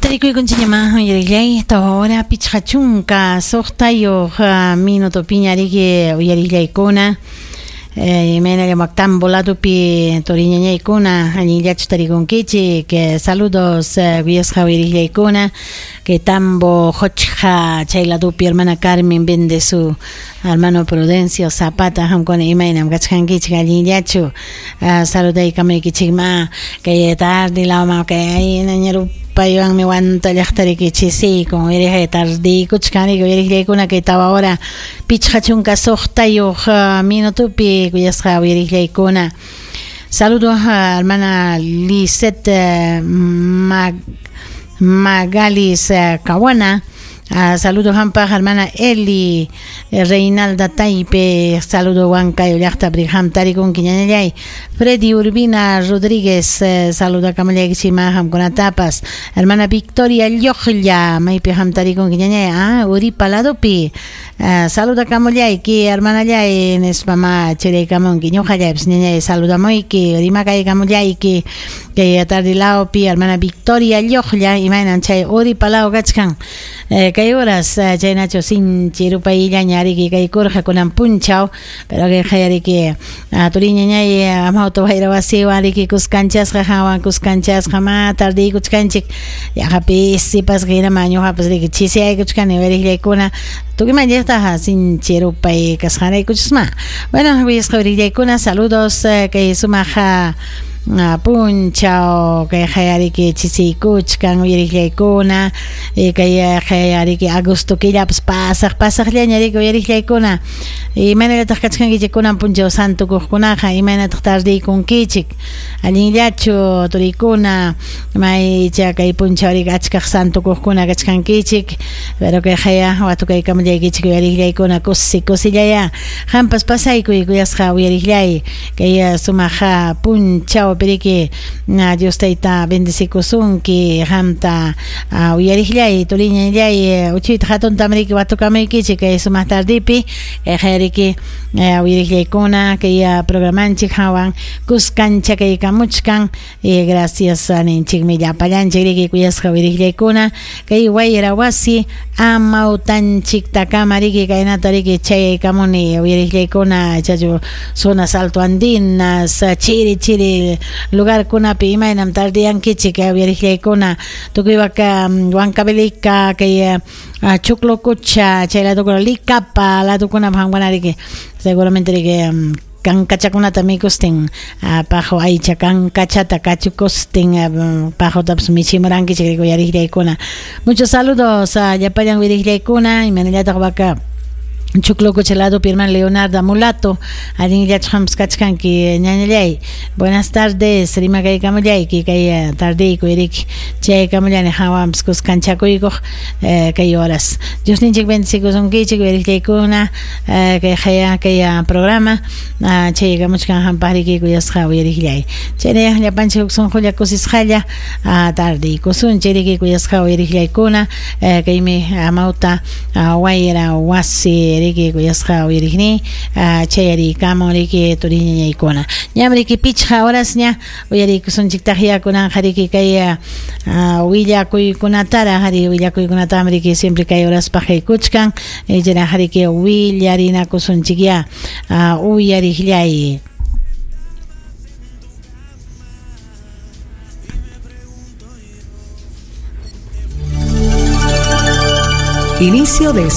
Tarikuykunchikñamá uyarillay 4 56 minutopiña riki uyarillaykuna imaynallam tambo ladopi turiñañaykuna allinllachu tarikunkichik saludos kuyasqa uyarillaykuna que tambo Jochja chay ladopi hermana Carmen vende su hermano Prudencio Zapata qamkuna imaynam kachkankichik allinllachu saludaykamaykichikma kay tarde lawman kay paywanmi wanta llaqtariki chisiykun uyariqay tardiykuchkan riki uyariqllaykuna kay 4 hora 56 minutopi kuyasqa uyariqllaykuna. Saludos a hermana Lisette Magalis Kawana. Saludos hampaq hermana Eli Reinalda Taipe, saludo Huancayo llaqta Brigham tarikunki ñañallay. Freddy Urbina Rodríguez, saluda kamallaykichima hamkunatapas. Hermana Victoria Llojlla, maypi ham tarikunki ñañay, Uripa ladopi. Saluda kamullayki hermanallay nispama churaykamunki ñuqallaypas ñañay saludamuyki rimakaykamullayki kay tarde lawpi hermana Victoria Llojlla imaynan chay Uripa law kachkan. Kay horas chaynachu sinchi rupayllaña riki kaykurqa kunan punchaw pero kay qayariki turiñañay amawta wayra wasiwan riki kuskanchasqa hawan kuskanchasqa ma tardiykuchkanchik yaqa pisipasqa hinama ñuqapas riki chisiyaykuchkani uyariqllaykuna tukuyman llaqtaqa sinchi rupay kasqanraykuchusma. Bueno, kuyasqa uyariqllaykuna saludos kay sumaq punchaw kay qayariki chisiykuchkan uyariqllaykuna kay qayariki agosto killapas pasaqllaña riki uyariqllaykuna imaynallataq kachkankichik kunan punchaw santukuqkunaqa imaynataq tardiykunkichik allinllachu turikuna maycha kay punchaw riki achkaq santukuqkuna kachkankichik pero kay qaya watukaykamullaykichik uyariqllaykuna kusi kusillaya qampas pasaykuy kuyasqa uyariqllay kay sumaq punchaw piriki Dios tayta bendecikusunki qamta uyariqllay turiñallay uchuyta hatuntam riki watukamaykichik kay sumaq tardipi kay qariki uyariqllaykuna kay programanchik hawan kuskancha kaykamuchkan gracias ninchikmi llapallanchik riki kuyasqa uyariqllaykuna kay wayra wasi amawtanchiktakama riki kaynata riki chayaykamuni uyariqllaykuna chachu zonas alto andinas chiri chiri lugarkunapi imaynam tardiyankichik uyariqllaykuna tukuywaka Huancavelica kay Choclococha chay ladukuna Licapa ladukuna hanwana riki seguramente riki kankachakunata mikustin pajo aycha kankachata kachukustin pajotapas michimurankichik riki uyariqllaykuna. Muchos saludos a llapallan uyariqllaykuna imaynallataq waka Choclococha ladopi hermano Leonardo Mulato allinllachu hampas kachkanki ñañallay. Buenas tardes rimakaykamullayki kay tardiyku riki chaykamullani hawanpas kuskanchakuykuq kay horas. Dios ninchik bendecikusunkichik uyariqllaykuna kay qaya kay programa chaykamuchkan hampaq riki kuyasqa uyariqllay. Chaynayaq llapanchik huk sunqulla kusisqalla tardiykusunchik riki kuyasqa uyariqllaykuna kaymi amawta wayra wasi riki kuyasqa uyariqni chayariykamun riki turiñañaykuna ñam riki 5 horasña uyariykusunchiktaq yakunanqa riki kay willakuykunatara hari willakuykunatam riki siempre kay horaspaq kaykuchkan chaynaqa riki willarinakusunchikya uyariqllay. Inicio de